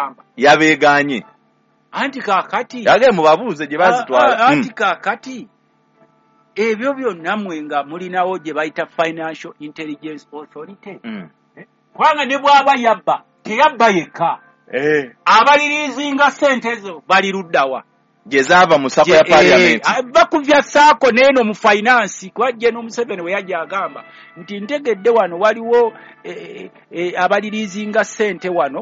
Kyengamba. Yabeeganye. Anti kaakati yage mubabuuze gye bazitwala. Anti kaakati ebyo byonna mmwe nga mulinawo gye bayita Financial Intelligence Authority. Kubanga ne bw'aba yabba, teyabba yekka. Abalirizinga ssente ezo bali luddawa? Gye zaava mu SACCO ya Parliament. Bakuvya SACCO n'eno mu finance, kuba General Museveni we yajja agamba nti ntegedde wano waliwo abalirizinga ssente wano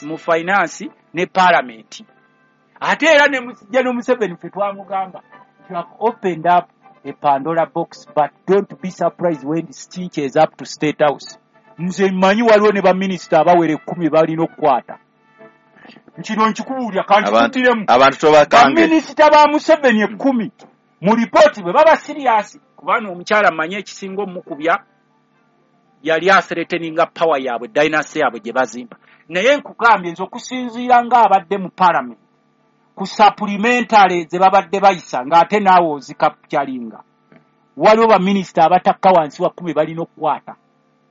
mu finance ne Parliament. Ate era ne General Museveni ffe twamugamba, "You have opened up a Pandora box, but don't be surprised when it is up to State House." Nze mmanyi waliwo ne baminisita abawera 10 balina okukwata. Nkino nkikubuulira, kankikuddiremu. Abantu tobakange. Baminisita ba Museveni 10 mu lipooti bwe baba serious, kubanga omukyala mmanyi ekisinga omukubya yali athreateninga power yaabwe, dynasty yaabwe gye bazimba. Naye nkugambye nze okusinziira ng'abadde mu Parliament ku supplementary ze babadde bayisa, ng'ate naawe ozikapyalinga, waliwo baminisita abatakka wansi wa 10 balina okukwata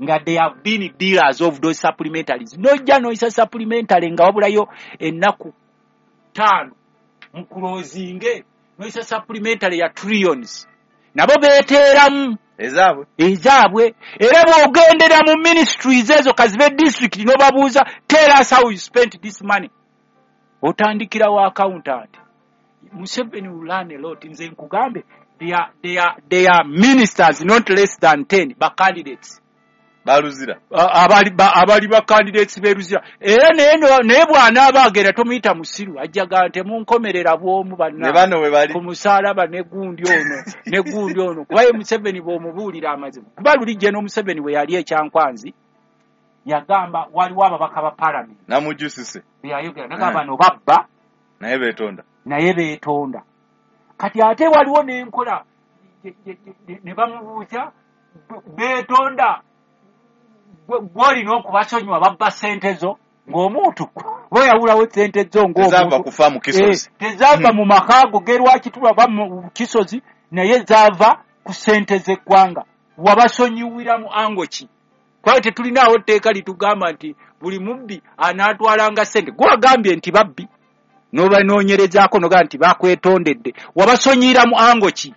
nga they have been dealers of those supplementaries. Nojja noyisa supplementary nga wabulayo ennaku 5 mu closinge, noyisa supplementary ya trillions, nabo beeteeramu ezaabwe. Era bw'ogendera mu ministries ezo kazibe district n'obabuuza, "Tell us how you spent this money," otandikirawo accountant. Museveni will learn a lot. Nze nkugambe, they are ministers not less than 10 ba candidates baluzira, abali ba candidates beruzira. Era naye bw'anaaba agenda tomuyita musiru, ajjaga temunkomerera bw'omu banna ku musaalaba ne gundi ono ne gundi ono, kuba ye Museveni bw'omubuulira amazima. Kuba luli General Museveni bwe yali ekyankwanzi yagamba waliwo ababaka ba Parliament namujusise beyayogera nagamba bano babba naye beetonda, naye beetonda. Kati ate waliwo n'enkola ne bamubuuza, beetonda gw'olina okubasonyiwa babba ssente zo ng'omuntu bweyawulawo ssente zo ng'omuntu kufa mu Kisozi, tezaava mu maka go gerwakitulwa ba mu Kisozi, naye zaava ku ssente z'eggwanga. Wabasonyiwira mu ango ki? Kubanga tetulinaawo tteeka litugamba nti buli mubbi anaatwalanga ssente. Gwagambye nti babbi n'obanoonyerezaako nogamba nti bakwetondedde, wabasonyiyira mu ango ki?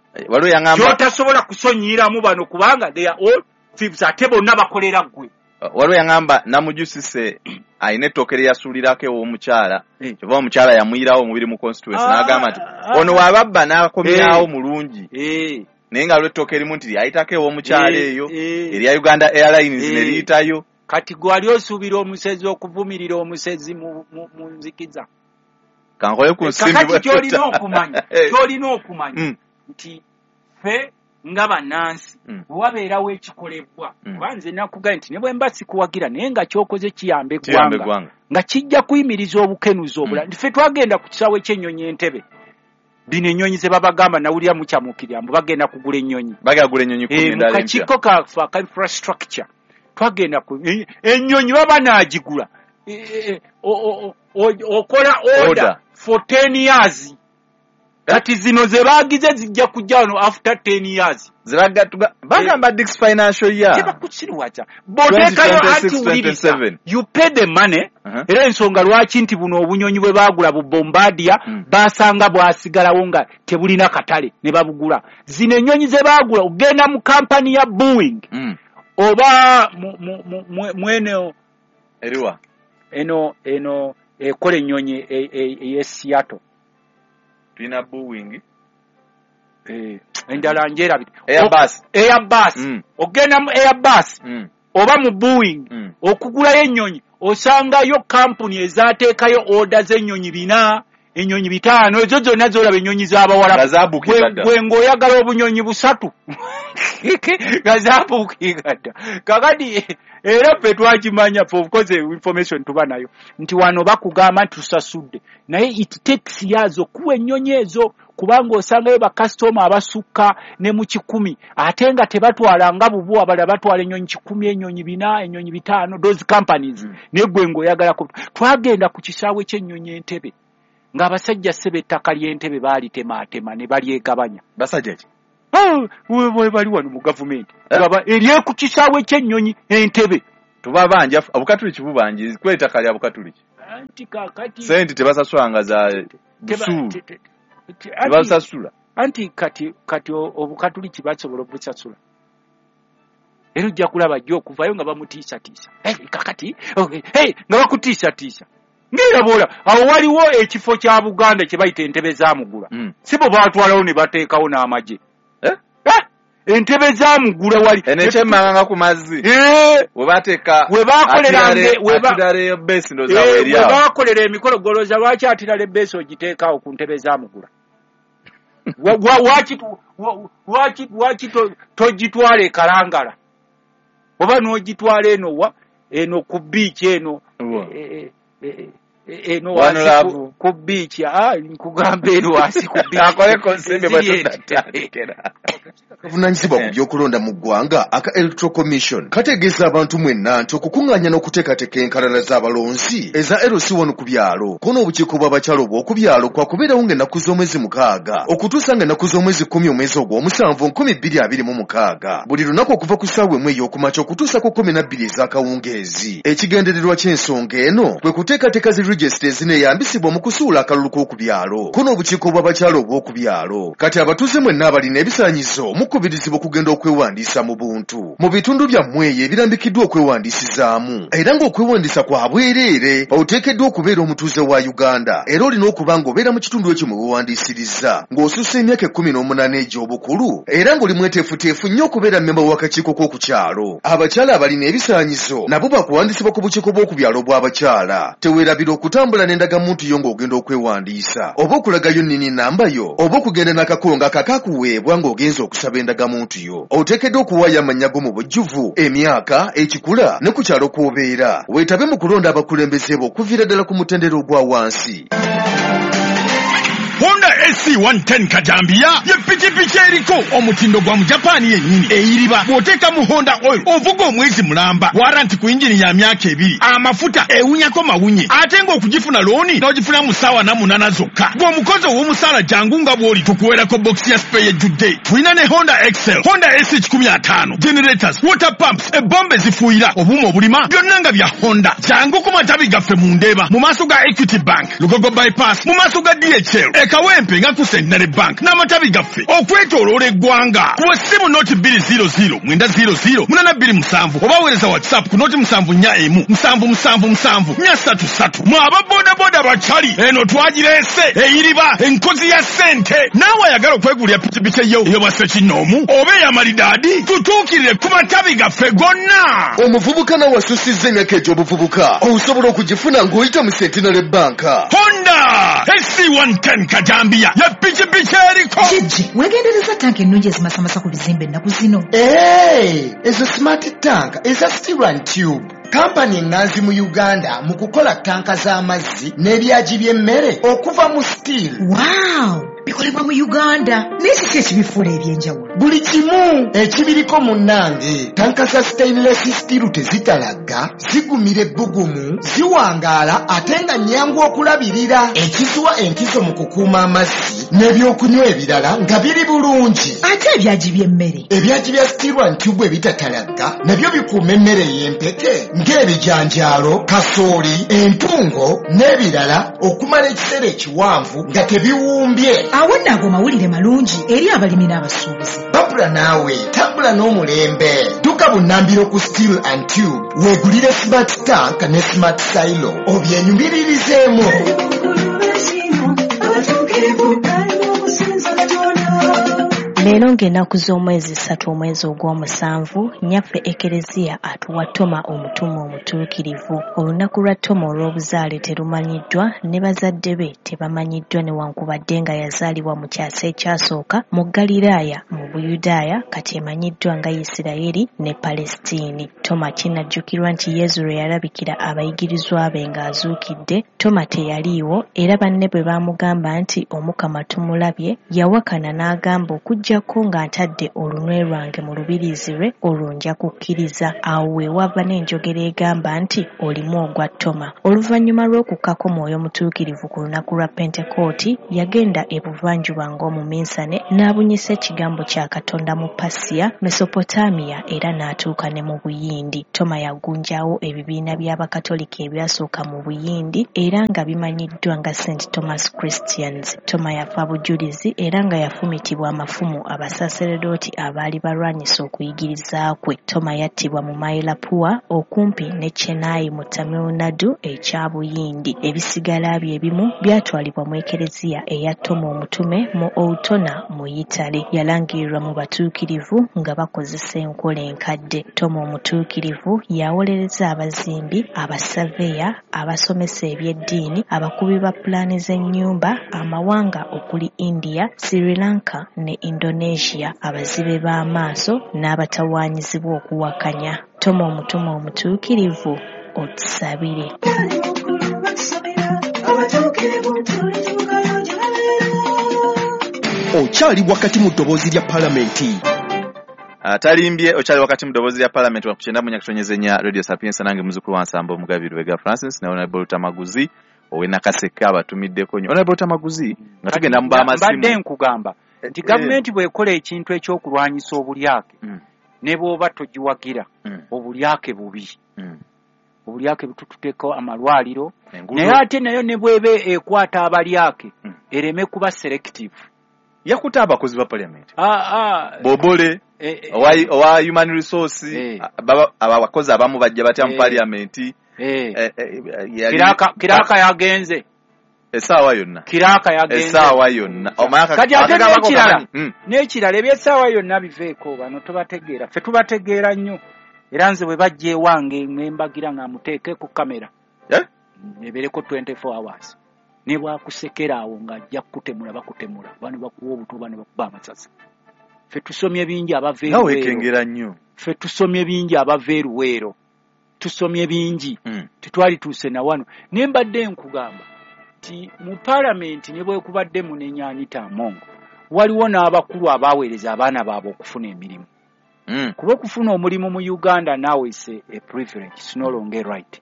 Gy'otasobola kusonyiyiramu bano kubanga they are all thieves, ate bonna bakolera ggwe. Waliwo yaŋŋamba namujusise alina ettooke lye yasuulirako ew'omukyala, kyova omukyala yamuyirawo omubiri mu constituency n'agamba nti ono wababba n'akomyawo mulungi, naye nga lw'ettooke erimu nti lyayitako ew'omukyala eyo erya Uganda Airlines ne liyitayo. Kati gwe wali osuubira omusezi okuvumirira omusezi mu nzikiza? Kankole ku nsimbi. Kakati ky'olina okumanya nti ffe nga bannansi wabeerawo ekikolebwa, kuba nze nakugambye nti ne bwe mba sikuwagira naye nga ky'okoze kiyamba eggwanga, nga kijja kuyimiriza obukenuzi obulala. Ffe twagenda ku kisaawe ky'ennyonyi Entebbe, bino ennyonyi ze babagamba nawulira mukyamuukirira mbu bagenda kugula ennyonyi, mu kakiiko kaffe aka infrastructure twagenda ennyonyi baba naagigula, okola order for 10 years. Kati zino ze baagize zijja kujja wano after 10 years. Bagamba this financial year. Tebakusiriwaza. Bw'oteekayo anti wuliriza, you pay the money. Era ensonga lwaki nti buno obunyonyi bwe baagula bu Bombardier basanga bwasigalawo nga tebulina katale ne babugula. Zino ennyonyi ze baagula ogenda mu kampani ya Boeing oba mwene eriwa eno ekola ennyonyi ey'e Seattle. Tulina Boeing endala njerabidde. Airbus. Ogenda mu Airbus oba mu Boeing okugulayo ennyonyi osangayo kampuni ezaateekayo order z'ennyonyi 4, ennyonyi 5, ezo zonna z'olaba ennyonyi z'abawalabu. Gwe ng'oyagala obunyonyi 3 nga zaabuukinga dda. Kakati era ffe twakimanya, of course information tuba nayo nti wano bakugamba nti tusasudde, naye it takes years okuwa ennyonyi ezo, kubanga osangayo bakasitoma abasukka ne mu 100 ate nga tebatwala nga bubu, abalala batwala ennyonyi 100, ennyonyi 4, ennyonyi 5, those companies. Naye gwe ng'oyagala. Twagenda ku kisaawe ky'ennyonyi Entebbe ng'abasajja ssebe ettaka ly'Entebbe baalitemaatema ne balyegabanya. Basajja ki? Bali wano mu gavumenti erye ku kisaawe ky'ennyonyi Entebbe. Tubabanja Abukatuliki bubanji kw'ettaka lya Bukatuliki. Anti kakati sente tebasasulanga za busuulu, tebasasula. Anti kati obukatuliki basobola obusasula. Era ojja kulaba jjo okuvayo nga bamutiisatiisa. Kakati nga bakutiisatiisa. Ng'era bw'ola awo waliwo ekifo kya Buganda kye bayita entebe za Mugula. Si bo baatwalawo ne bateekawo n'amagye. Entebe za Mugula wali. Eno ekyemmanga ku mazzi. We bateeka we baakoleranga we baakolera emikolo golooza lwaki atirala ebbeesi ogiteekaawo ku ntebe za Mugula? Lwaki togitwala e Kalangala? Oba n'ogitwala eno wa eno ku biiki eno eno wansi ku biiki, nkugamba eno wansi ku biiki. Akoleko nsimbi bwe tunatandikira. Akavunaanyizibwa ku by'okulonda mu ggwanga aka Electoral Commission kategeeza abantu mwenna nti okukuŋŋaanya n'okuteekateeka enkalala z'abalonzi eza LC1 ku byalo ko n'obukiiko bw'abakyala obw'oku byalo kwakubeerawo ng'ennaku z'omwezi 6 okutuusa ng'ennaku z'omwezi 10 omwezi ogw'omusanvu 2026 buli lunaku okuva ku ssaawa 1 ey'okumakya okutuusa ku 12 ez'akawungeezi. Ekigendererwa ky'ensonga eno kwe kuteekateeka zi regisita ezineeyambisibwa mu kusuula akalulu k'oku byalo ko n'obukiiko bw'abakyala obw'oku byalo. Kati abatuuze mwenna abalina ebisaanyizo mukubirizibwa okugenda okwewandiisa mu buntu mu bitundu byammwe eyo ebirambikiddwa okwewandiisizaamu, era ng'okwewandiisa kwa bwereere. Oteekeddwa okubeera omutuuze wa Uganda era olina okuba ng'obeera mu kitundu ekyo mwe weewandiisiriza ng'osussa emyaka 18 egy'obukulu era ng'oli mweteefuteefu nnyo okubeera mmemba w'akakiiko k'oku kyalo. Abakyala abalina ebisaanyizo nabo bakuwandiisibwa ku bukiiko bw'oku byalo bw'abakyala. Teweerabira okutambula n'endagamuntu yo ng'ogenda okwewandiisa oba okulagayo nnini namba yo oba okugenda n'akakongo akakakuweebwa ng'ogenza okusaba endagamuntu yo. Oteekeddwa okuwaayo amannya go mu bujjuvu, emyaka, ekikula ne ku kyalo kw'obeera. Weetabe mu kulonda abakulembeze bo okuviira ddala ku mutendera ogwa wansi. Honda AC110 Kajambiya ye pikipiki eriko omutindo gwa Mujapani yennyini eyiriba. Bw'oteeka mu Honda oil ovuga omwezi mulamba, waranti ku yingini ya myaka 2, amafuta ewunyako mawunye, ate ng'okugifuna looni n'ogifuna mu ssaawa 8 zokka. Gw'omukozi ow'omusaala jangu nga bw'oli tukuweerako bokisi ya spare ejjudde. Tulina ne Honda Excel, Honda AC150, generators, water pumps, ebombe ezifuuyira, obuuma obulima, byonna nga bya Honda. Jangu ku matabi gaffe mu Ndeeba, mu maaso ga Equity Bank, Lugogo Bypass, mu maaso ga DHL, e Kawempe nga ku Centenary Bank n'amatabi gaffe okwetooloola eggwanga. Kuba essimu noti 200 900 827 oba weereza WhatsApp ku noti 741 777 433. Mwe aba bodaboda bakyali eno twagireese eyiriba enkozi ya ssente. Naawe ayagala okwegulira pikipiki eyo ey'obwassekinnoomu oba ey'amalidaadi, tutuukirire ku matabi gaffe gonna. Omuvubuka nawe asusizza emyaka egy'obuvubuka osobola okugifuna ng'oyita mu Centenary Bank. Honda AC110 Kajambiya ye pikipiki eriko. Jjajja, weegendereza tanka ennungi ezimasamasa ku bizimbe ennaku zino. Ezo smart tank eza steel and tube. Kampani eŋŋanzi mu Uganda mu kukola tanka z'amazzi n'ebyagi by'emmere okuva mu steel. Wow! Bikolebwa mu Uganda. Naye kiki ekibifuula eby'enjawulo? Buli kimu ekibiriko munnange. Tanka za stainless steel tezitalagga, zigumira ebbugumu, ziwangaala ate nga nnyangu okulabirira. Ekiziwa enkizo mu kukuuma amazzi n'ebyokunywa ebirala nga biri bulungi. Ate ebyagi by'emmere? Ebyagi bya steel and tube ebitatalagga nabyo bikuuma emmere ey'empeke ng'ebijanjaalo, kasooli, entungo n'ebirala okumala ekiseera ekiwanvu nga tebiwumbye. Awo nno ago mawulire malungi eri abalimi n'abasuubuzi. Babula naawe tambula n'omulembe. Dduka bunnambiro ku Steel and Tube weegulire smart tank ne smart silo obyenyumiririzeemu. Leero ng'ennaku z'omwezi 3 omwezi ogw'omusanvu, nnyaffe Ekereziya atuwa Toma omutume omutuukirivu. Olunaku lwa Toma olw'obuzaale terumanyiddwa ne bazadde be tebamanyiddwa newankubadde nga yazaalibwa mu kyasa ekyasooka mu Ggaliraaya mu Buyudaaya kati emanyiddwa nga Yisirayeri ne Palesitiini. Toma kinajjukirwa nti Yesu lwe yalabikira abayigirizwa be ng'azuukidde, Toma teyaliiwo era banne bwe baamugamba nti Omukama tumulabye, yawakana n'agamba okuggyako nga ntadde olunwe lwange mu lubiriizi lwe, olwo nja kukkiriza. Awo we wava n'enjogera egamba nti olimu ogwa Toma. Oluvannyuma lw'okukkako Mwoyo Mutuukirivu ku lunaku lwa Pentekooti, yagenda ebuvanjuba ng'omuminsane n'abunyisa ekigambo kya Katonda mu Pasiya, Mesopotamiya era n'atuuka ne mu Buyindi. Toma yagunjaawo ebibiina by'Abakatoliki ebyasooka mu Buyindi era nga bimanyiddwa nga St Thomas Christians. Toma yafa bujulizi era nga yafumitibwa amafumu abasaseredooti abaali balwanyisa okuyigiriza kwe. Toma yattibwa mu Mylapore okumpi ne Chennai mu Tamil Nadu ekya Buyindi. Ebisigala bye ebimu byatwalibwa mu Ekereziya eya Toma Omutume mu Ortona mu Yitale. Yalangirirwa mu batuukirivu nga bakozesa enkola enkadde. Toma Omutuukirivu yawolereza abazimbi, abasaveya, abasomesa eby'eddiini, abakubi ba pulaani z'ennyumba, amawanga okuli India, Sri Lanka ne Indonesia, abazibe b'amaaso n'abatawaanyizibwa okuwakanya. Toma Omutume Omutuukirivu, otusabire. Okyali wakati mu ddoboozi lya Palamenti. Atalimbye okyali wakati mu ddoboozi lya Palamenti wa 94.4 Radio Sapientia, nange muzukulu wa Nsamba Omugabi Lubega Francis ne Honorable Tamaguzi owe Nakaseke abatumiddeko nnyo. Honorable Tamaguzi, nga tugenda mu b'amasimu. Mbadde nkugamba nti gavumenti bw'ekola ekintu ekyokulwanyisa obulyake, ne bw'oba togiwagira, obulyake bubi. Obulyake butututeeko amalwaliro, naye ate nayo ne bw'eba ekwata abalyake, ereme kuba selective. Yakuta abakozi ba Parliament. Bobole owa human resource, abakozi abamu bajja batya mu Parliament. Kiraka yagenze essaawa yonna. Kiraka yagenze essaawa yonna. Kati ate n'ekirala eby'essaawa yonna biveeko, bano tobategeera. Ffe tubategeera nnyo. Era nze bwe bajja ewange nembagira nga muteeke ku kamera ebeereko 24 hours. Ne bwakusekera awo ng'ajja kukutemula, bakutemula. Bano bakuwa obuto, bano bakuba amasasi. Ffe tusomye bingi abava e Luweero. Ffe tusomye bingi abava e Luweero. Tusomye bingi. Tetwalituuse na wano. Ne mbadde nkugamba nti mu Palamenti ne bwekubadde munenya Anita Among, waliwo n'abakulu abaaweereza abaana baabwe okufuna emirimu. Kuba okufuna omulimu mu Uganda now is a privilege, it's no longer right.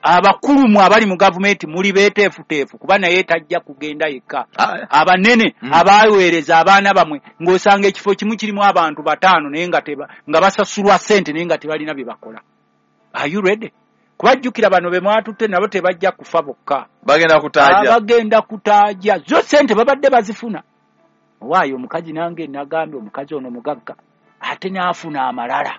Abakulu mu abali mu gavumenti muli beeteefuteefu kuba naye tajja kugenda yekka. Abanene abaweereza abaana bamwe ng'osanga ekifo kimu kirimu abantu 5 naye nga basasulwa ssente naye nga tebalina bye bakola. Are you ready? Kubajjukira bano be mwatutte nabo tebajja kufa bokka. Bagenda kutaaja. Bagenda kutaaja. Zo ssente babadde bazifuna. Waayo omukazi nange nagambye omukazi ono mugagga ate n'afuna amalala.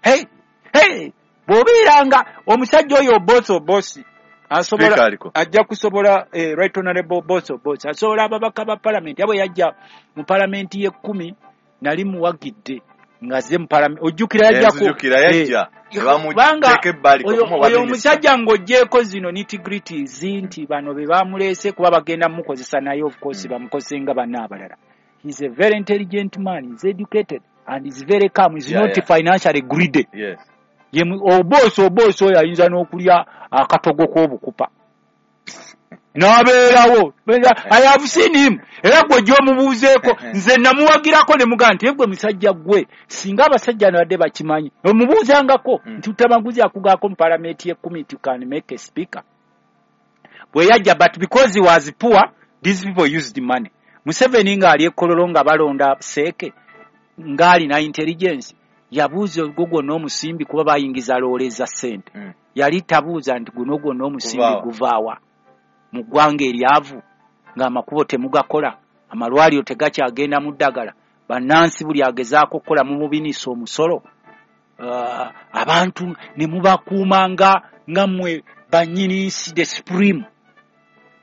Hey! Hey! Bw'obeeranga omusajja oyo Obosi asobola ajja kusobola right honorable Obosi asobola ababaka ba Palamenti. Abo yajja mu Palamenti y'e10 nali muwagidde ng'azze mu Palamenti. Ojjukira yajjako. Kubanga oyo omusajja ng'oggyeko zino nitty-gritties nti bano be bamuleese kuba bagenda mukozesa naye of course bamukozese nga banna abalala. He's a very intelligent man, he's educated and he's very calm, he's not financially greedy. Yes. Obosi oyo ayinza n'okulya akatogo k'obukupa n'abeerawo. I have seen him. Era gwe gy'omubuuzeeko nze namuwagirako ne mugamba nti gwe musajja gwe singa abasajja nabadde bakimanyi omubuuzangako nti Tamaguzi akugaako mu Palamenti y'e10 you can make a speaker. Bwe yajja, but because he was poor these people used money. Museveni ng'ali e Kololo nga balonda Seeke ng'alina intelligence yabuuza ogwo gwonna omusimbi kuba bayingiza loole za ssente. Yali tabuuza nti guno gwonna omusimbi guvaawa mu ggwanga eryavu ng'amakubo temugakola, amalwaliro tegakyagenda mu ddagala, bannansi buli agezaako okukola mumubinisa omusolo, abantu ne mubakuuma nga mmwe bannyini nsi the supreme.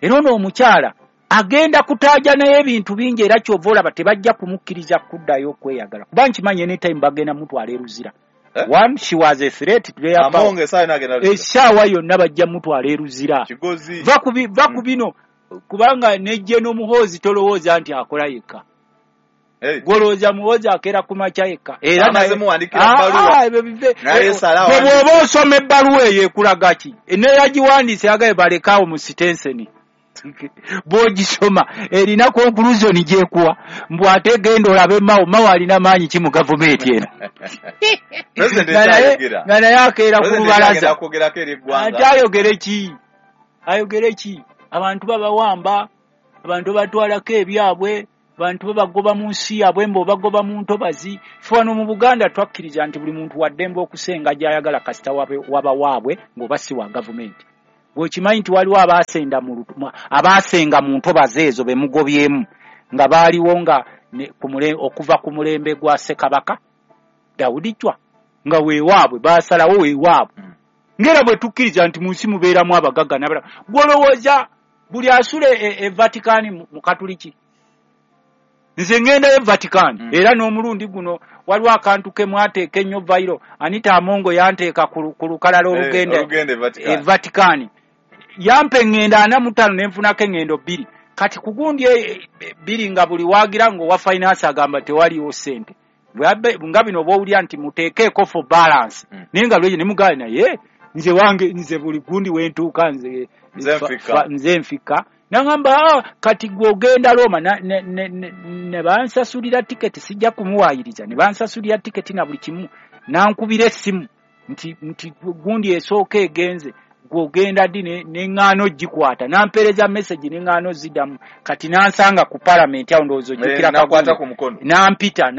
Era ono omukyala agenda kutaaja naye ebintu bingi era ky'ova olaba tebajja kumukkiriza kuddayo okweyagala kuba nkimanyi anytime bagenda mutwala e Luzira. One, she was a threat to their power. Essaawa yonna bajja mutwala e Luzira. Va ku bino kubanga ne General Muhoozi tolowooza nti akola yekka. Gw'olowooza Muhoozi akeera ku makya yekka. Era bw'oba osoma ebbaluwa eyo ekulaga ki? Neyagiwandiise yagambye balekaawo mu sitenseni. Bw'ogisoma erina conclusion gy'ekuwa, mbu ate genda olabe Mao. Mao alina maanyi ki mu gavumenti eno? President Nga naye ekyayogera. nga naye akeera ku President lubalaza. ekyagenda kwogerako eri eggwanga. Ate ayogere ki? Ayogere ki? Abantu babawamba, abantu babatwalako ebyabwe, abantu babagoba mu nsi yaabwe, mbu bagoba mu ntobazi. Ffe wano mu Buganda twakkiriza nti buli muntu wa ddembe okusenga gy'ayagala kasita waba waabwe ng'oba si wa gavumenti. Bw'okimanyi nti waliwo abaasenga mu ntobazi ezo be mugobyemu nga baaliwo nga okuva ku mulembe gwa Ssekabaka Daudi Chwa, nga weewaabwe baasalawo weewaabwe. Ng'era bwe tukkiriza nti mu nsi mubeeramu abagagga n'abalala. Gw'olowooza buli asula e Vatican mu Katuliki? Nze ŋŋendayo Vatican, era n'omulundi guno waliwo akantu ke mwateeka ennyo viral. Anita Amongo yanteeka ku lukalala olugenda olugenda e Vatican. e Vatican. Yampa eŋŋendo 45 ne nfunako eŋŋendo 2. Kati ku gundi 2 nga buli waagira ng'owa finance agamba tewaliwo ssente. Nga bino bw'owulira nti muteekeeko for balance. Naye nga lwekyo ne mugaana, naye nze wange, nze buli gundi we ntuuka Nze nfika. nze nfika. Nangamba, kati gwe ogenda Roma, ne bansasulira tiketi, sijja kumuwaayiriza, ne bansasulira tiketi na buli kimu. Nankubira essimu nti gundi esooka egenze, gwe ogenda ddi? Ne ŋŋaana ogikwata. Nampeereza message ne ŋŋaana oziddamu. Kati nansanga ku palamenti awo, ndowooza ojjukira Nakwata kagundi. ku mukono. Nampita,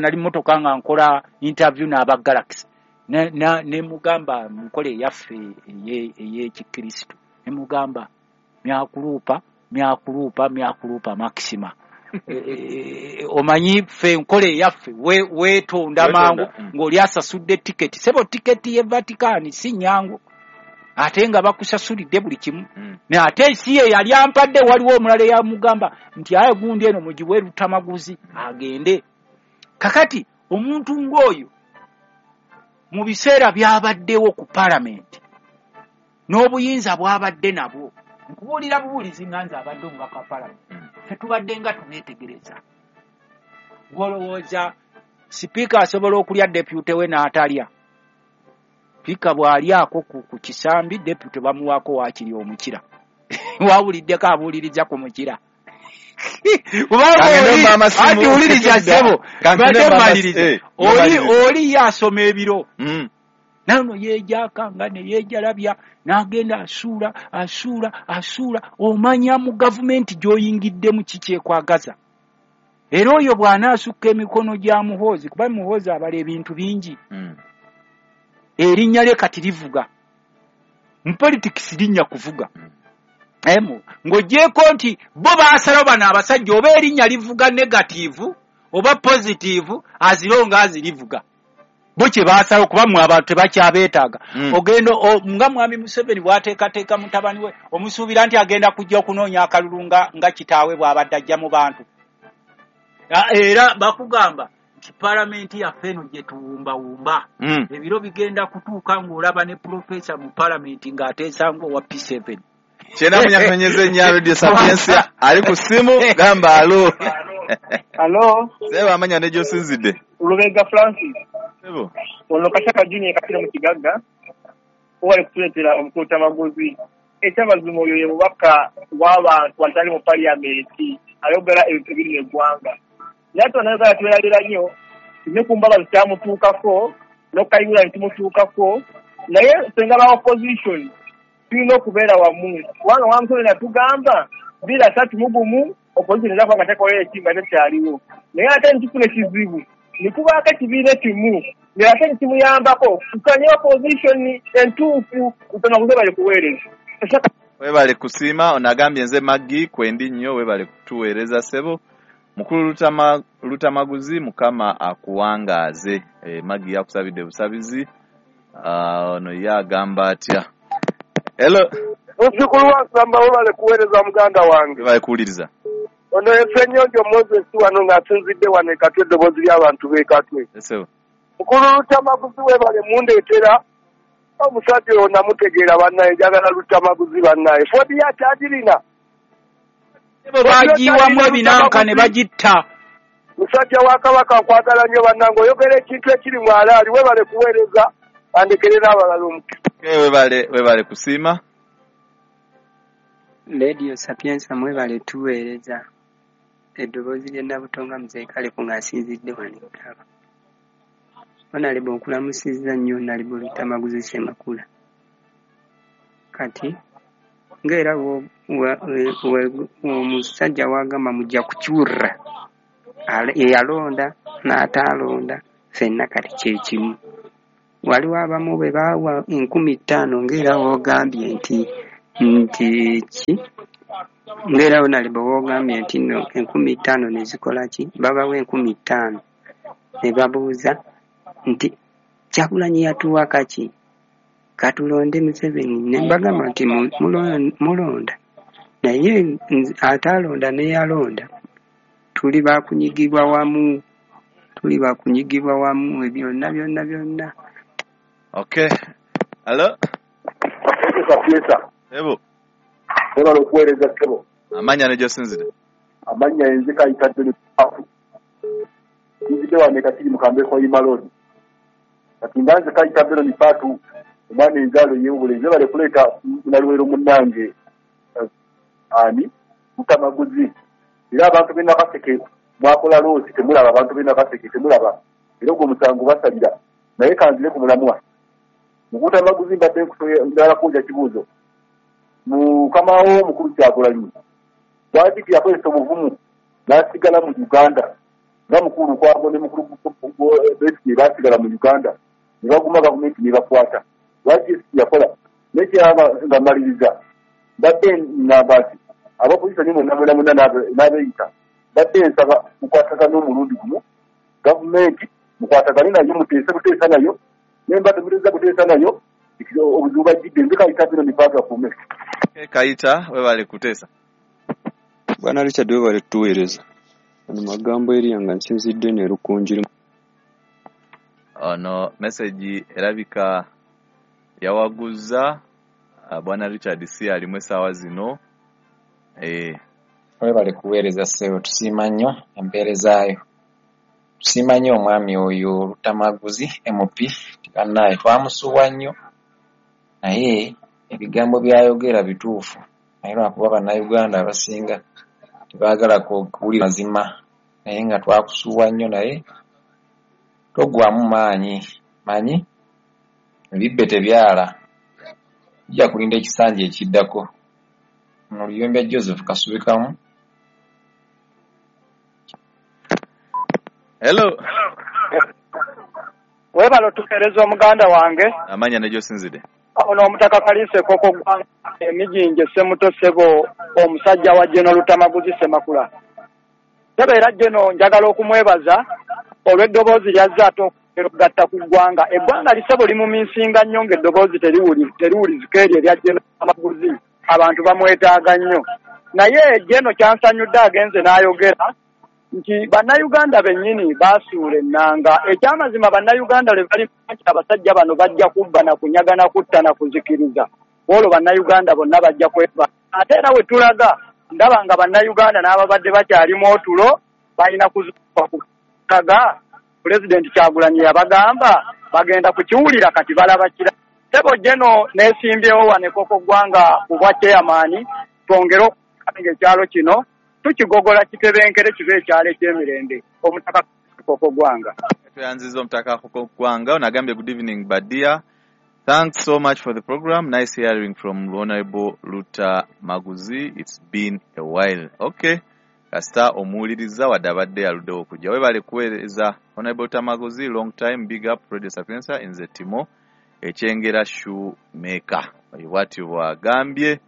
nali mmotoka nga nkola interview n'aba Galaxy. Ne mugamba nkola eyaffe ey'Ekikristo. Ne mugamba myakulupa, myakulupa, myakulupa maxima. Omanyi ffe enkola eyaffe weetonda mangu ng'oli asasudde tiketi. Sebo tiketi y'e Vatican si nnyangu, ate nga bakusasulidde buli kimu. Naye ate si ye yali ampadde, waliwo omulala eyamugamba nti aye gundi eno mugiwe Lutamaguzi agende. Kakati omuntu ng'oyo mu biseera by'abaddewo ku palamenti n'obuyinza bw'abadde nabwo, nkubuulira bubuulizi nga nze abadde omubaka wa palamenti, ffe tubadde nga tubeetegereza. Gw'olowooza sipiika asobola okulya deputy we n'atalya? Sipiika bw'alyako ku kisambi, deputy bamuwaako waakiri omukira. Wawuliddeko abuuliriza ku mukira? Kubanga Kangende mama simu. ati wuliriza ssebo, Kangende mbadde mama mmaliriza. Mmaliriza. Oli ye asoma ebiro. Nano yeejakanga ne yeejalabya n'agenda asuula, asuula, asuula. Omanya mu gavumenti gy'oyingiddemu kikyekwagaza. Era oyo bw'anaasukka emikono gya Muhoozi, kuba Muhoozi abala ebintu bingi. Erinnya lye kati livuga. Mu politics linnya kuvuga. Ng'oggyeeko nti bo baasalawo bano abasajja oba erinnya livuga negative oba positive, as long as livuga. Bo kye baasalawo, kuba mmwe abantu tebakyabeetaaga. Ogenda nga Mwami Museveni bw'ateekateeka mutabani we, omusuubira nti agenda kujja okunoonya akalulu nga kitaawe bw'abadde ajja mu bantu. Era bakugamba nti palamenti yaffe eno gye tuwumbawumba. Ebiro bigenda kutuuka ng'olaba ne profesa mu palamenti ng'ateesa ng'owa P7. Kyena munyakunyeze nnyo Radio Sapientia ali ku ssimu, gamba alo. Alo. Sebo, amanya ne gy'osinzidde. Lubega Francis. Sebo. Ono Kashaka Junior Katira mu Kigagga. Wali kutuleetera omukulu Tamaguzi. Ekyamazima oyo ye mubaka w'abantu atali mu parliament, ayogera ebintu ebiri mu eggwanga. Naye ate bannayuganda tubeerabira nnyo, ne ku Mbabazi kyamutuukako, n'okukayihura ne kimutuukako, naye ffe nga ba opposition tulina okubeera wamu. Kubanga Mwami Museveni yatugamba 2031 opposition eza kuba nga tekola eki nga tekyaliwo. Naye ate ne tufuna ekizibu, ne kubaako ekibiina ekimu, naye ate ne kimuyambako kukanya opposition entuufu. Lutamaguzi bali kuweereza. Webale kusiima. Ono agambye nze Maggie kwendi nnyo, webale kutuweereza ssebo. Mukulu Lutamaguzi, Mukama akuwangaaze. Maggie yakusabidde busabizi. Ono ye agamba atya? Hello. Muzzukulu wa Nsamba, webale kuweereza muganda wange. Webale kuwuliriza. Ono ye Ssenyonjo Moses wano ng'asinzidde wano e Katwe, eddoboozi ly'abantu b'e Katwe. Ssebo. Mukulu Lutamaguzi webale mundeetera omusajja oyo, namutegeera bannaye, njagala Lutamaguzi bannaye. Ford yakyagirina. Bo bagiyiwamu ebinanka ne bagitta. Musajja wa Kabaka, nkwagala nnyo bannange, oyogera ekintu ekiri mu alaali. Webale kuweereza, andekere n'abalala omukisa. Okay, webale, webale kusiima. Radio Sapienza mwebale tuweereza eddoboozi ly'e Nabutonga Muzeeyi Kaleku ng'asinzidde wano e Ggaba. Honorable nkulamusizza nnyo Honorable Luttamaguzi Ssemakula. Kati ng'era omusajja w'agamba mujja kukiwulira eyalonda n'ataalonda ffenna kati kye kimu. Waliwo abamu bwe baawa 5,000 ng'era w'ogambye nti ki ng'era Honorable w'ogambye nti nno 5,000 ne zikola ki, babawa 5,000 ne babuuza nti Kyagulanyi yatuwa kaki, katulonde Museveni. Ne mbagamba nti mulonda, naye ataalonda n'eyalonda tuli bakunyigibwa wamu, tuli bakunyigibwa wamu byonna byonna byonna. Okay. Hello? Ebo. Webale okuweereza ssebo. Amannya ne gy'osinzidde? Amannya nze Kayita John Pafu. Nzidde wano e Kakiri mu Kambe Hoima Road. Kati nga nze Kayita John Pafu, omwana enzaalo y'obulenzi, webale kuleeta Munaluweero munnange ani Luttamaguzi. Era abantu b'e Nakaseke mwakola loosi temulaba, abantu b'e Nakaseke temulaba. Era ogwo omusango basalira. Naye kanzire ku mulamwa. Luttamaguzi mbadde njagala kubuuza kibuuzo. Mukama wo omukulu Kyagulanyi lwaki teyakozesa obuvumu n'asigala mu Uganda nga mukulu Lukwago ne mukulu Besigye baasigala mu Uganda ne baguma gavumenti ne bakwata? Lwaki yakola? N'ekirala nga mmaliriza, mbadde ngamba nti abapoliisi mwenna mwena mwena n'abeeyita, mbadde nsaba mukwatagane omulundi gumu, gavumenti mukwatagane nayo, muteese buteesa nayo, naye mbadde muteesa buteesa nayo obuzibu bajjidde. Nze Kayita bino mipaka kume. Kayita webale kuteesa. Bwana Richard webale tuweereza. Ono magambo eriya nga nsinzidde ne Lukunjiri. Ono message erabika yawaguza Bwana Richard si alimu essaawa zino. Webale kuweereza ssebo, tusiima nnyo empeerezaayo. Tusiima nnyo omwami oyo Luttamaguzi MP, bannaaye twamusuubwa nnyo, naye ebigambo by'ayogera bituufu, naye lwakuba bannayuganda abasinga tebaagala kuwulira mazima, naye nga twakusuubwa nnyo, naye toggwaamu maanyi, manyi ebibbe tebyala, tujja kulinda ekisanja ekiddako. Ono Luyombya Joseph Kasubikamu. Hello. Webale otuweereza omuganda wange. Amannya ne gy'osinzidde? Ono omutaka Kalisa Ekoko Ggwanga emijinje Ssemuto ssebo, omusajja wa Geno Luttamaguzi Ssemakula. Ssebo era Geno njagala okumwebaza olw'eddoboozi ly'azze ate okugatta ku ggwanga. Eggwanga lisebo limumiisinga nnyo ng'eddoboozi teriwulizika eryo erya Geno Luttamaguzi. Abantu bamwetaaga nnyo. Naye Geno kyansanyudde agenze n'ayogera nti bannayuganda bennyini baasuula ennanga. Ekyamazima bannayuganda lwe bali nti abasajja bano bajja kubba na kunyaga na kutta na kuzikiriza, olwo bannayuganda bonna bajja kweva. Ate era we tulaga ndaba nga bannayuganda n'ababadde bakyalimu otulo balina kuzuukuka kukaga. Pulezidenti Kyagulanyi yabagamba bagenda kukiwulira, kati balaba kira. Ssebo Geno neesimbyewo wano Ekoko Ggwanga ku bwa chairman, twongere okukanga ekyalo kino tukigogola kitebenkere kibe ekyalo eky'emirembe. Omutaka Koko Ggwanga. Tweyanzizza omutaka Koko Ggwanga. Ono agambye good evening Badia. Thanks so much for the program. Nice hearing from Honorable Luttamaguzi. It's been a while. Okay. Kasita omuwuliriza wadde abadde aluddewo okujja. Webale kuweereza Honorable Luttamaguzi. Long time, big up Radio Sapienza. Nze Timo Ekyengera Shoemaker. Oyo bw'atyo bw'agambye.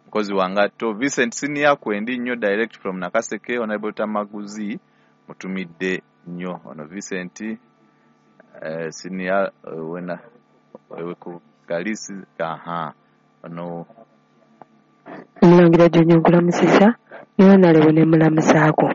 Mukozi wange ato Vincent Senior kwendi nnyo direct from Nakaseke. Honorable Luttamaguzi mutumidde nnyo. Ono Vincent Senior wena ku Kalisi aha ono Omulangira Jonyo nkulamusizza ne Honorable ne mulamusaako.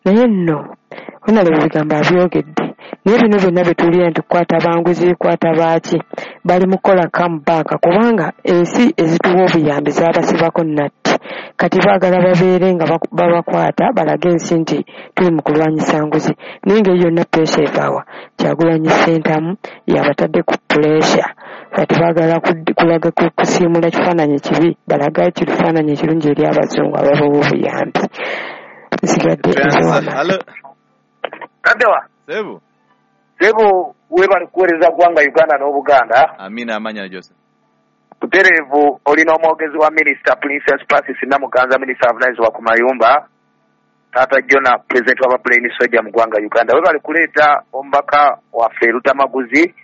Naye nno Honorable ebigambo abyogedde, naye bino byonna bye tuwulira nti kukwata banguzi, kukwata baaki, bali mu kukola comeback kubanga ensi ezituwa obuyambi zaabasibako natti. Kati baagala babeere nga babakwata balage ensi nti tuli mu kulwanyisa nguzi, naye ng'eyo yonna puresha evaawa? Kyagulanyi Ssentamu yabatadde ku puresha. Kati baagala kulaga kusiimula kifaananyi kibi, balage kifaananyi ekirungi eri abazungu ababawa obuyambi. Nsigadde nze. Kaddewa Sebo. Sebo, webale kuweereza ggwanga Uganda n'Obuganda. Amina. Amanya, Joseph. Butereevu olina omwogezi wa Minisita Princess Francis Namuganza, minisita avunaanyizibwa ku mayumba, Taata Jona, pulezidenti w'abaplain soja mu ggwanga Uganda. Webale kuleeta omubaka waffe Lutamaguzi,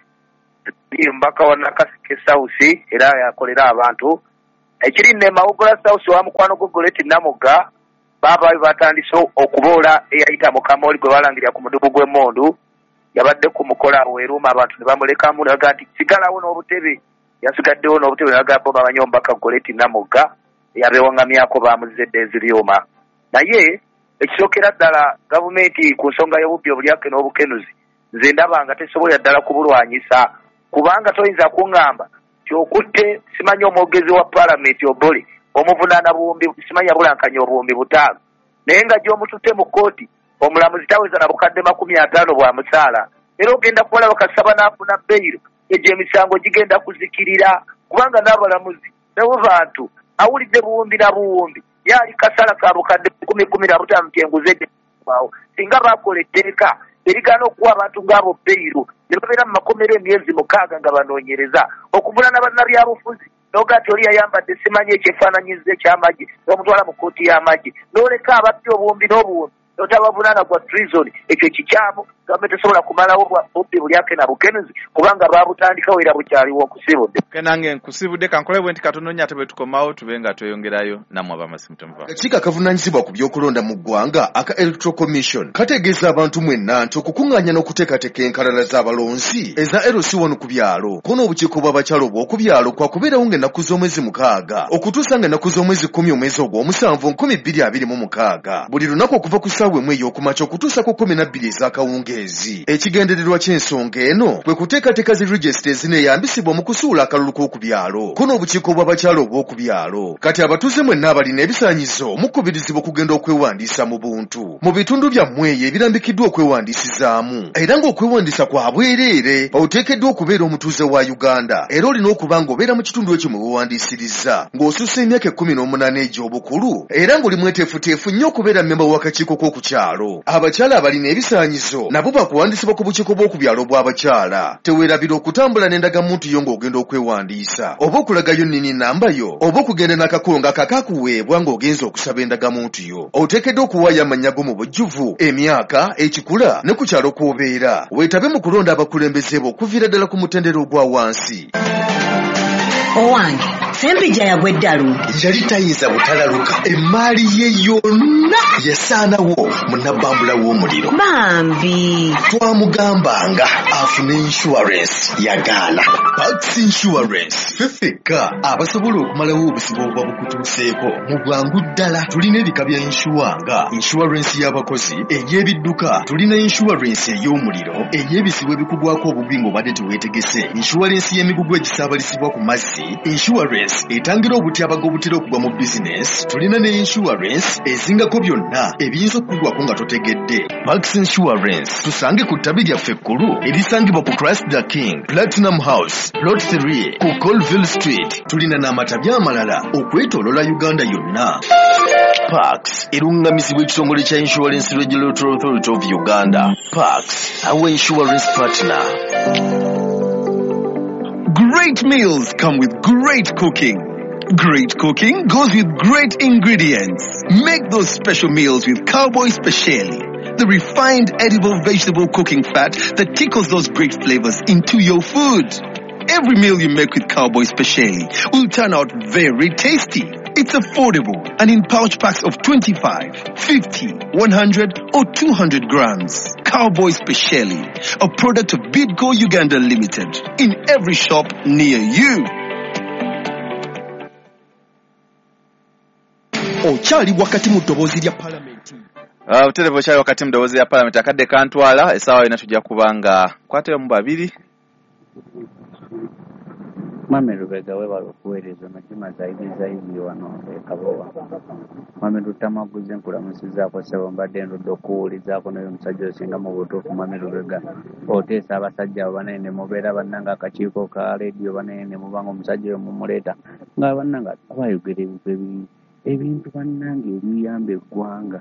omubaka wa Nakaseke South, era yakolera abantu. Ekiri nne Mawogola South wa mukwano gwo Goleti Namugga, baabaayo batandise okuboola eyayita Mukamoli gwe balangirira ku mudugu gw'emmundu. Yabadde ku mukola weeruuma, abantu ne bamulekamu ne bagamba nti sigalawo n'obutebe. Yasigaddewo n'obutebe, ne bagamba bo bamanyi omubaka Goleti Namugga yabeewaŋŋamyako, bamuzze edda eziryuma. Naye ekisookera ddala, gavumenti ku nsonga y'obubbi, obulyake n'obukenuzi, nze ndaba nga tesobolera ddala kubulwanyisa, kubanga toyinza kuŋŋamba nti okutte simanyi omwogezi wa paalamenti Obole, omuvunaana buwumbi simanyi yabulankanya 5000, naye nga gy'omututte mu kkooti omulamuzi taweza na bukadde 50 bwa musaala. Era ogenda kubalaba kasaba n'afuna beyiro, egyo emisango gigenda kuzikirira, kubanga n'abalamuzi nabo bantu. Awulidde buwumbi na buwumbi, yaali kasala ka bukadde 10, 15 nti enguzi ejaawo. Singa bakola etteeka erigaana okuwa abantu ng'abo beyiro, ne babeera mu makomero emyezi 6 nga banoonyereza okuvunaana bannabyabufuzi, noga nti oli yayambadde simanyi ekyefaananyiza ekyamagye, n'omutwala mu kkooti y'amagye, n'oleka ababbi obuwumbi n'obuwumbi notabavunaana gwa treason. Ekyo kikyamu. Gavumenti tesobola kumalawo bubbi bulyake na bukenuzi, kubanga babutandikawo era bukyaliwo. Nkusibudde. Nange nkusibudde. Kankole bwe nti katono nnyo, ate bwe tukomawo tube nga tweyongerayo nammwe abamasimu. Temuva. Akakiiko akavunaanyizibwa ku by'okulonda mu ggwanga aka Electoral Commission kategeeza abantu mwenna nti okukuŋŋaanya n'okuteekateeka enkalala z'abalonzi eza LC1 ku byalo ko n'obukiiko bw'abakyala obw'oku byalo kwakubeerawo ng'ennaku z'omwezi 6 okutuusa ng'ennaku z'omwezi 10 omwezi ogw'omusanvu 2026, buli lunaku okuva ku ssaawa 1 ey'okumakya okutuusa ku 12 ez'akawungeezi. Ekigendererwa ky'ensonga eno kwe kuteekateeka zi regisita ezineeyambisibwa mu kusuula akalulu k'oku byalo ko n'obukiiko bw'abakyala obw'oku byalo. Kati abatuuze mwenna abalina ebisaanyizo mukubirizibwa okugenda okwewandiisa mu buntu mu bitundu byammwe eyo ebirambikiddwa okwewandiisizaamu, era ng'okwewandiisa kwa bwereere. Oteekeddwa okubeera omutuuze wa Uganda, era olina okuba ng'obeera mu kitundu ekyo mwe weewandiisiriza, ng'osussa emyaka 18 egy'obukulu, era ng'oli mweteefuteefu nnyo okubeera mmemba w'akakiiko k'oku kyalo. Abakyala abalina ebisaanyizo nabo bakuwandiisibwa ku bukiiko bw'oku byalo bw'abakyala. Teweerabira okutambula n'endagamuntu yo ng'ogenda okwewandiisa, oba okulagayo nnini namba yo, oba okugenda n'akakongo akakakuweebwa ng'ogenza okusaba endagamuntu yo. Oteekeddwa okuwaayo amannya go mu bujjuvu, emyaka, ekikula ne ku kyalo kw'obeera. Weetabe mu kulonda abakulembeze bo okuviira ddala ku mutendera ogwa wansi. Owange Sempijja yagwa eddalu. Yali tayinza butalaluka, emaali ye yonna yasaanawo mu nabbambula w'omuliro. Bambi. Twamugambanga afune insurance, yagaana. Pax Insurance, ffe ffekka abasobola okumalawo obuzibu obuba bukutuuseeko mu bwangu ddala. Tulina ebika bya insure nga insurance y'abakozi, ey'ebidduka, tulina insurance ey'omuliro, ey'ebizibu ebikugwako obugwi ng'obadde teweetegese, insurance y'emigugu egisaabalizibwa ku mazzi, insurance etangira obutyabaga obutera okugwa mu bizinesi. Tulina ne insurance ezingako byonna ebiyinza okukugwako nga totegedde. Pax Insurance, tusange ku ttabi lyaffe ekkulu erisangibwa ku Christ the King Platinum House, Plot 3, ku Colville Street. Tulina n'amatabi amalala okwetoolola Uganda yonna. Pax eruŋŋamizibwa ekitongole kya Insurance Regulatory Authority of Uganda. Pax, our insurance partner. Great meals come with great cooking. Great cooking goes with great ingredients. Make those special meals with Cowboy Speciali, the refined edible vegetable cooking fat that tickles those great flavors into your food. Every meal you make with Cowboy Speciali will turn out very tasty. It's affordable and in pouch packs of 25, 50, 100 or 200 grams. Cowboy Speciali, a product of Bidco Uganda Limited, in every shop near you. Okyali wakati mu ddoboozi lya palamenti. Butereevu okyali wakati mu ddoboozi lya palamenti. Akadde kantwala, essaawa yonna tujja kuba nga nkwatayo mu babiri. Mwami Lubega weebale okuweereza ono Juma Zaidi Zaidi wano e Kabowa. Mwami Luttamaguzi nkulamusizzaako ssebo mbadde ndudde okuwulizaako naye omusajja osinga mu butuufu Mwami Lubega oteesa abasajja abo banaye ne mubeera bannange akakiiko ka leediyo banaye ne muba nga omusajja oyo mumuleeta nga bannange bayogera ebintu ebintu bannange ebiyamba eggwanga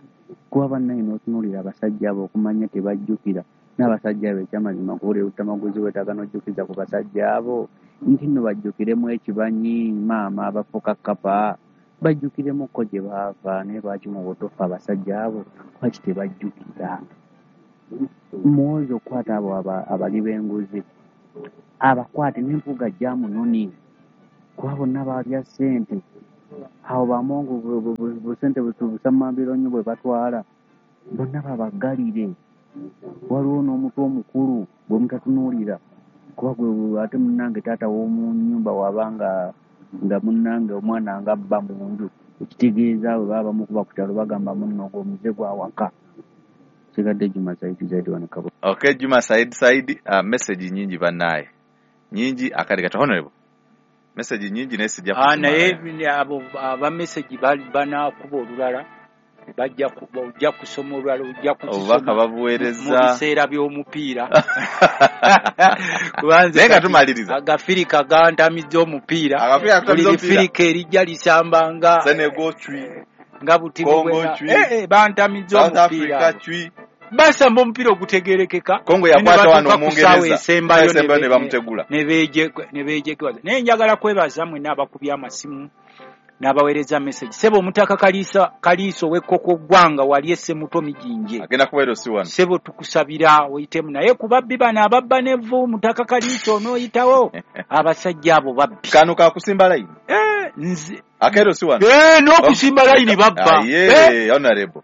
kuba bannange n'otunuulira abasajja abo okumanya tebajjukira n'abasajja abo ekyamazima kuwulira Luttamaguzi weetaaga n'ojjukiza ku basajja abo nti nno bajjukiremu ekibanyi maama abafuuka kkapa bajjukiremukko gye baava naye lwaki mu butuufu abasajja abo lwaki tebajjukira muwozi okukwata abo abali b'enguzi abakwate n'empuuga jamunoni kuba bonna baalya ssente awo bamongo busente busamambiro nnyo bwe batwala bonna babaggalire waliwo n'omutwe omukulu gwe mutatunuulira kuba gwe ate munnange taata w'omu nnyumba wabanga nga munnange omwana nga abba mu nju ekitegeeza bwe baba bamukuba ku kyalo bagamba munno ogwo omuze gwa waka. Sigadde Juma Saidi Zaidi wano Kabowa. Okay, Juma Said Saidi, message nyingi bannaye nyingi akade kati honorable message nyingi naye sijja Naye abo aba message banaakuba olulala bajja ojja kusoma olulala ojja obubaka babuweereza mu biseera by'omupiira kubanze naye nga tumaliriza agafirika gantamizza omupiira buli lifirika erijja lisamba nga Senegal cwi nga butibu bantamizza omupiira basamba omupiira ogutegerekeka Kongo yakwata wano Omungereza esembayo ne bamutegula ne beejekewaza. Naye njagala kwebaza mwenna abakubye amasimu n'abaweereza message. Ssebo omutaka Kaliisa ow'Ekkoko ggwanga wali Essemuto Mijinje agenda kubeera osi wano. Ssebo tukusabira oyitemu naye ku babbi bano ababba n'evvu omutaka Kaliisa onooyitawo abasajja abo babbi. Kano ka kusimba layini. Nze akeera osi wano. N'okusimba layini babba. Honorable.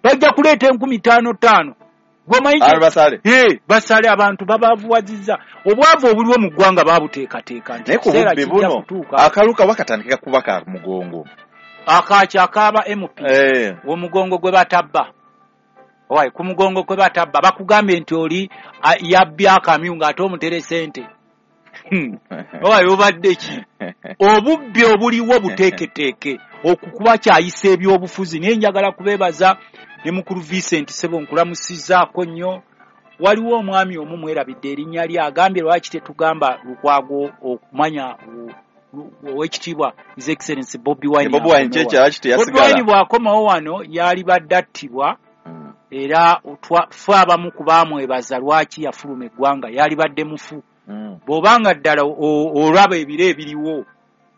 Bajja kuleeta 5,000 basale abantu babavuwazizza obwavu obuliwo mu ggwanga babuteekateeka nti naye ku bubbi buno akaluka wakatandika kuba ka mugongo akaaki akaaba MP omugongo gwe batabba owaye ku mugongo gwe batabba bakugambye nti oli yabbye akamyu ng'ate omutere ssente owaye obadde ki obubbi obuliwo buteeketeeke okukuba kyayisa ebyobufuzi. Naye njagala kubeebaza ne mukulu Vincent ssebo nkulamusizzaako nnyo. Waliwo omwami omu mwerabidde erinnya lye agambye lwaki tetugamba Lukwago okumanya owekitiibwa His Excellency Bobi Wine. Bobi Wine bw'akomawo wano yalibadde attibwa era ffe abamu ku baamwebaza lwaki yafuluma eggwanga yalibadde mufu. Bw'obanga ddala olaba ebiro ebiriwo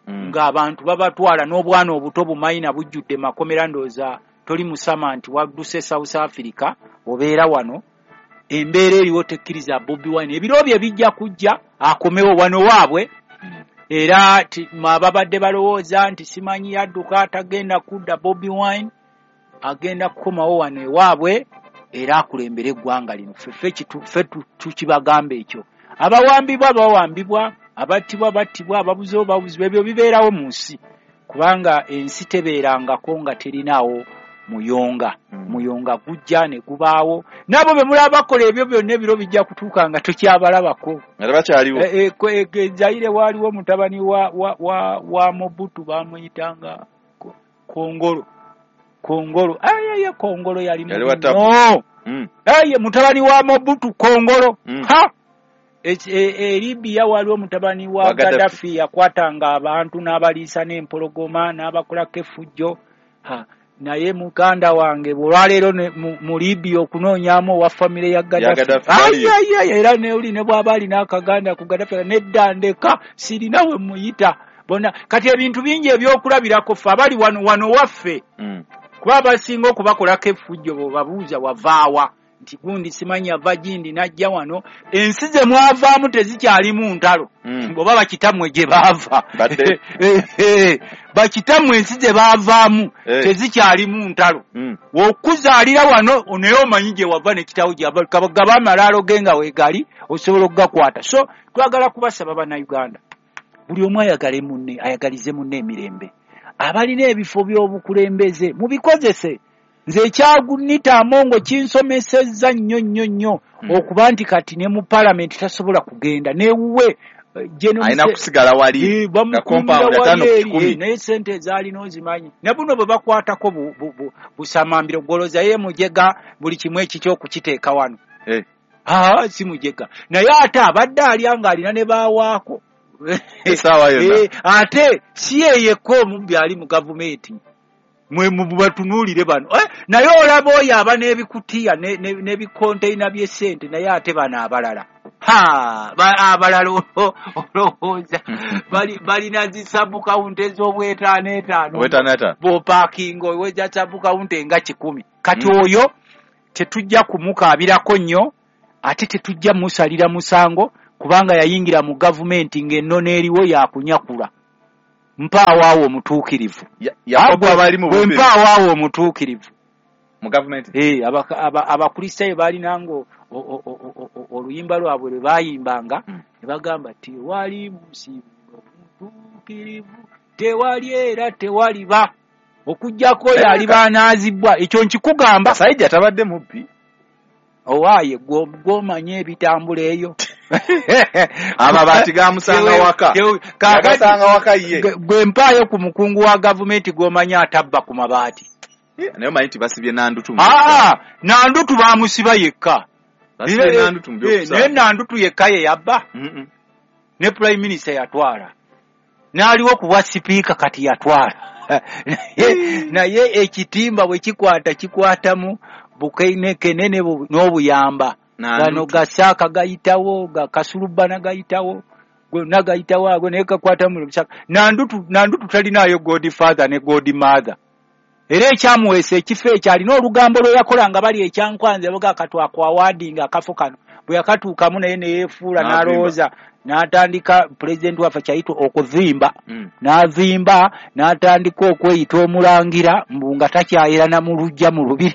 ng'abantu babatwala n'obwana obuto bumayina bujjudde makomera ndowooza toli musama nti wadduse South Africa obeera wano embeera eriwo tekkiriza Bobi Wine ebiro bye bijja kujja akomewo wano waabwe. Era ababadde balowooza nti simanyi yadduka tagenda kudda Bobi Wine agenda kukomawo wano ewaabwe era akulembere eggwanga lino. Ffe tukibagamba ekyo. Abawambibwa bawambibwa, abattibwa battibwa, ababuzeewo babuzibwa, ebyo bibeerawo mu nsi kubanga ensi tebeerangako nga terinaawo muyonga. Muyonga gujja ne gubaawo n'abo be mulaba bakola ebyo byonna ebiro bijja kutuuka nga tokyabalabako nga tebakyaliwo. Zaire waaliwo mutabani wa Mobutu bamuyitanga Kongolo. Kongolo aye Kongolo yali no aye mutabani wa Mobutu Kongolo ha e Libya waliwo mutabani wa Gaddafi yakwatanga abantu n'abaliisa n'empologoma n'abakolako effujjo. Naye muganda wange olwaleero mu Libya okunoonyaamu owa famire ya Gaddafi era ne oli ne bw'aba alina akaganda ku Gaddafi nedda ndeka sirina we muyita bonna. Kati ebintu bingi ebyokulabirako ffe abali wano wano waffe kuba abasinga okubakolako effujjo bw'obabuuza wavaawa nti gundi simanyi ava gindi n'ajja wano. Ensi ze mwavaamu tezikyalimu ntalo oba bakitammwe gye baava bakitammwe ensi ze baavaamu tezikyalimu ntalo. Okuzaalira wano naye omanyi gye wava ne kitaawo gyava gaba amalaalo ge nga weegali osobola okugakwata. So twagala kubasaba Bannayuganda buli omu ayagale munne ayagalize munne emirembe. Abalina ebifo by'obukulembeze mubikozese. Nze ekyagunita Amongo kinsomesezza nnyo nnyo nnyo, okuba nti kati ne mu palamenti tasobola kugenda newuwe. Alina kusigala wali nga compound 5 ku 100. Naye sente ezaalina ozimanyi, ne buno bwe bakwatako busamambiro, gwolooza ye mujega buli kimu ekikyo okukiteeka wano. Aa, si mujega, naye ate abadde alya ng'alina ne baawaako. Essaawa yonna. Ate si ye yekka omubbi ali mu gavumenti. Mwe batunuulire bano. Naye olaba oyo aba n'ebikutiya n'ebikonteina by'essente, naye ate bano abalala, ha, abalala olowooza balina zi sub-county ez'obwetaano etaano. Obwetaano etaano. Bw'opaakinga oweza sub-county nga 100. Kati oyo tetujja kumukaabirako nnyo, ate tetujja musalira musango, kubanga yayingira mu gavumenti ng'ennono eriwo yakunyakula. Mpaawaawo omutuukirivu. Yakobo abali mu Bwe bubbi. Mpaawaawo omutuukirivu mu gavumenti. Abakristaayo baalinanga oluyimba lwabwe lwe baayimbanga, ne bagamba, tewali musimu omutuukirivu, tewali era tewaliba, okuggyako oyo aliba anaazibwa. Ekyo nkikugamba. Kasayijja tabadde mubbi. Owaaye gw'omanyi ebitambula eyo. Amabaati gamusanga waka. Yagasanga waka ye. Gwe mpaayo ku mukungu wa gavumenti gw'omanyi atabba ku mabaati. Naye omanyi nti basibye Nandutu mu Aa, Nandutu bamusiba yekka. Basibye Nandutu mu byokusaaga. Naye Nandutu yekka ye yabba? Ne prime minister yatwala, n'aliwo ku bwa sipiika kati yatwala. Naye ekitimba bwe kikwata, kikwatamu bukenekenene n'obuyamba. Nandutu. Gano gasaaka gayitawo, gakasulubana gayitawo, gonna gayitawo ago, naye kakwatamu lusaka. Nandutu talinaayo godfather ne godmother. Era ekyamuweesa ekifo ekyo, alina olugambo lwe yakola nga bali ekyankwanzi, baga katwakwawadinga akafo kano. Bwe yakatuukamu naye ne yeefuula, N'avimba. n'alowooza, n'atandika pulezidenti waffe kyayita okuzimba, n'azimba, n'atandika okweyita omulangira, mbu nga takyayerana mu luggya mu lubiri.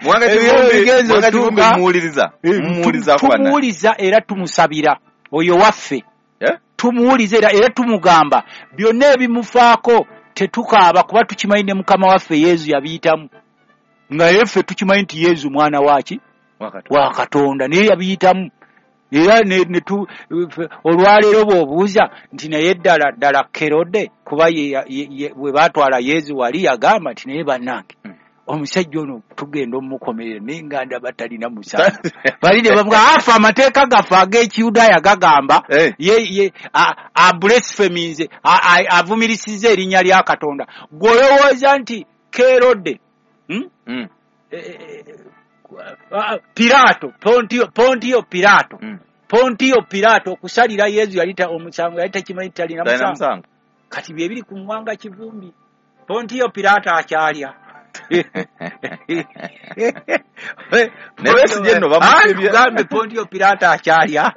Mwanga Ebiro bigenze Mwanga Kivumbi otuuka. mumuwuliriza. Mumuwuliza ku banna. Tumuwuliza era tumusabira oyo waffe. Tumuwuliza era tumugamba byonna ebimufaako tetukaaba, kuba tukimanyi ne Mukama waffe Yesu yabiyitamu, nga ye ffe tukimanyi nti Yesu mwana waki? Wa Katonda, naye yabiyitamu. Era ne tu, olwaleero bw'obuuza nti naye ddala ddala Kerode, kuba ye bwe baatwala Yesu wali yagamba nti naye bannange omusajja ono tugenda omukomerera, naye nga ndaba talina musango. Bali ne bamuga afa, amateeka gaffe ag'Ekiyudaaya gagamba ye a blasphemings, avumirisizza erinnya lya Katonda. Gw'olowooza nti Kerode, Pilato, Pontio Pilato, Pontio Pilato okusalira Yesu yali omusango yali takimanyi talina Talina musango. musango. Kati bye biri ku Mwanga Kivumbi. Pontio Pilato akyalya. Ne Besigye nno bamusibye. Kugambe Pontio Pilato akyalya.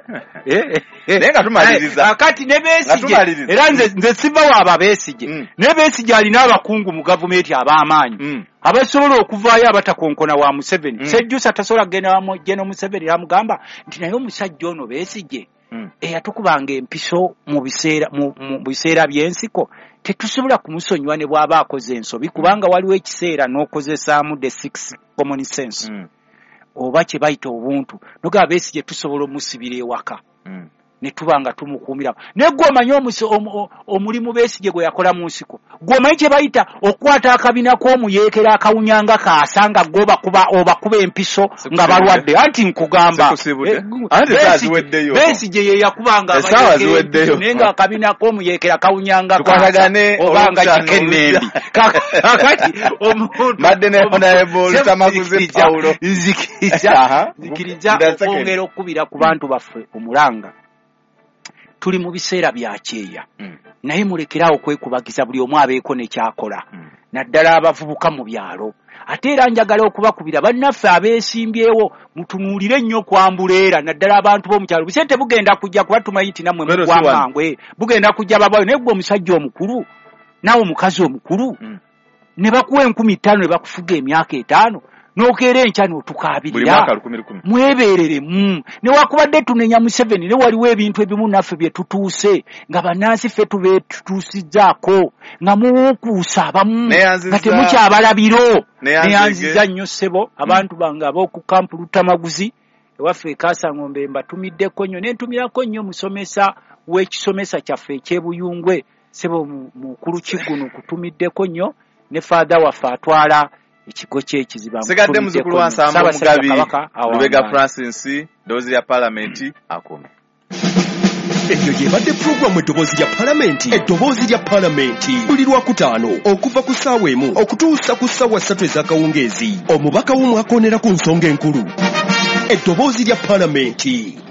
Naye nga tumaliriza. Kati ne Nga Besigye, tumaliriza. era nze siva waaba Besigye. Ne Besigye alina abakungu mu gavumenti ab'amaanyi abasobola okuvaayo abatakonkona wa Museveni. Sejjusa tasobola kugenda wa General Museveni n'amugamba nti naye omusajja ono Besigye eyatukubanga empiso mu biseera by'ensiko, tetusobola kumusonyiwa ne bw'aba akoze ensobi, kubanga waliwo ekiseera n'okozesaamu the six common sense oba kye bayita obuntu, nogamba Besigye tusobola omusibira ewaka ne tuba nga tumukuumira. Naye gwe omanyi omulimu Besigye gwe yakola mu nsiko, gwe omanyi kye bayita okukwata akabina k'omuyeekera akawunya nga kaasa, nga gwe obakuba empiso nga balwadde. Anti nkugamba, Sikusibudde. Anti essaawa ziweddeyo. Besigye ye yakubanga Essaawa abayeekera ziweddeyo. empiso, naye nga akabina k'omuyeekera kawunya nga kaasa, Tukwatagane oba nga olwokutaano kikenembi. olujja. Kakati omuntu Mbadde ne Honorable Lutamaguzi Paulo. Nzikiriza Nda second. okwongera okukubira ku bantu baffe omulanga. Tuli mu biseera bya kyeya, naye mulekerawo okwekubagiza, buli omu abeeko ne kyakola, naddala abavubuka mu byalo. Ate era njagala okubakubira bannaffe abeesimbyewo, mutunuulire nnyo kwambuleera, naddala abantu b'omu kyalo. Busente bugenda kujja, kuba tumanyi nti nammwe Kwero mugwa si wano. mangu, bugenda kujja babayo. Naye ggwe omusajja omukulu, naawe omukazi omukulu, ne bakuwa 5,000 ne bakufuga emyaka 5. N'okeera enkya n'otukaabirira. Mwebeereremu. Newakubadde tunenya Museveni, ne waliwo ebintu ebimu naffe bye tutuuse nga bannansi ffe tubetutuusizzaako, nga muwukuusa abamu nga temukyabalabiro. Neyanziza nnyo ssebo abantu bange ab'oku kampu Luttamaguzi ewaffe e Kasangombe, mbatumiddeko nnyo, ne ntumirako nnyo musomesa w'ekisomesa kyaffe eky'Ebuyungwe, ssebo mukulu Kigunu, kutumiddeko nnyo, ne faatha waffe atwala ekigo ky'ekiziba. Sigadde muzzukulu wa Nsamba Omugabi Lubega Francis, ddoboozi lya Palamenti akome. Eyo y'ebadde pulogulaamu Eddoboozi lya Palamenti. Eddoboozi lya Palamenti buli Lwakutaano okuva ku ssaawa 1 okutuusa ku ssaawa 3 ez'akawungeezi. Omubaka w'omwakoonera ku nsonga enkulu. Eddoboozi lya Palamenti.